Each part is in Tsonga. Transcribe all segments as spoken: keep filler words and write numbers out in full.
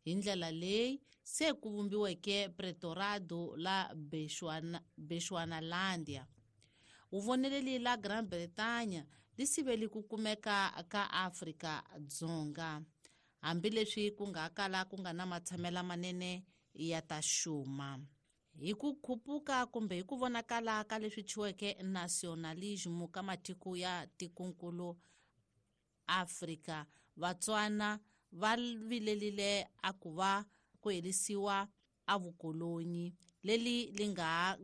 Hi ndlela leyi se ku vumbiweke Pretorado la Bechuanalandia. Vuvoneleli la Gran Bretagne li siveli ku kumeka ka Afrika Dzonga, hambileswi ku nga kala ku nga na matshamela manene ya ta xuma. Hi ku khupuka kumbe hi ku vonakala ka leswi chiweke nationalism ka matiko ya tikonkulu Afrika, Vatswana va vilelile a ku va ku herisiwa a vukolonyi leli li nga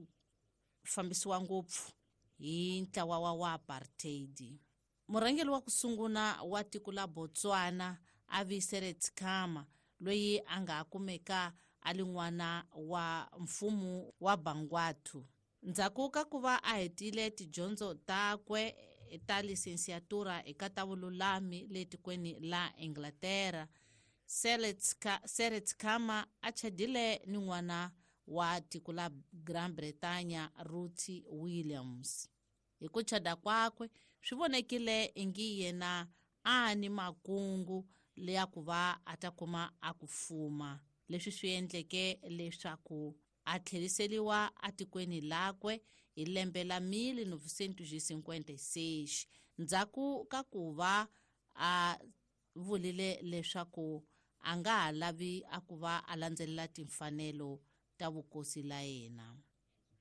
fambisiwa ngopfu hi ntlawa wa wa apartheid. Murhangeri wa ku sungula wa tiko la Botswana a vi Seretse Khama, loyi a nga kumeka a li n'wana wa mfumo wa Bangwathu. Ndzhaku ka ku va a hetile tidyondzo takwe ta lisensiatura eka ta vululami le tikweni la Inglaterra, Seretse Khama a chadile ni n'wana wa tiko la Gran Bretagne Ruth Williams. Hi ku chada kwakwe swi vonekile ingi yena a ni makungu leya ku va a ta kuma a ku fuma, leswi swi endleke leswaku a tlheriseriwa atikweni lakwe hi lembe la mille neuf cent cinquante-six, ndzhaku ka ku va a vulile leswaku a nga ha lavi a ku va a landzelela timfanelo ta vukosi la yena.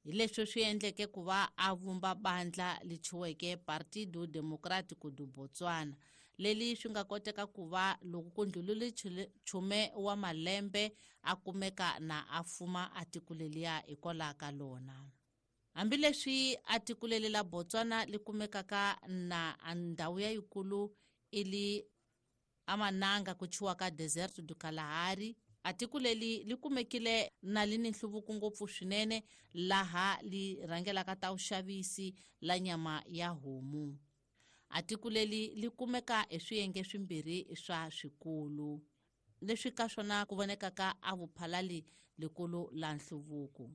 Hi leswi swi endleke ku va a vumba bandla li chiweke Partido Democrático do Botswana, leli swi nga koteka ku va loko ku ndlulile chume wa malembe a kumeka na a fuma a tiko leliya hikwalaho ka lona. Hambileswi a tiko leli la Botswana li kumekaka na ndhawu ya yikulu ili amananga ku chiwa ka Deserto do Kalahari, a tiko leli li kumekile na li ni nhluvuko ngopfu swinene laha li rhangelaka ta vuxavisi la nyama ya homu. A tiko leli li kumeka hi swiyenge swimbirhi swa swikulu, leswi ka swona ku vonekaka a vuphalali likulu la nhluvuko.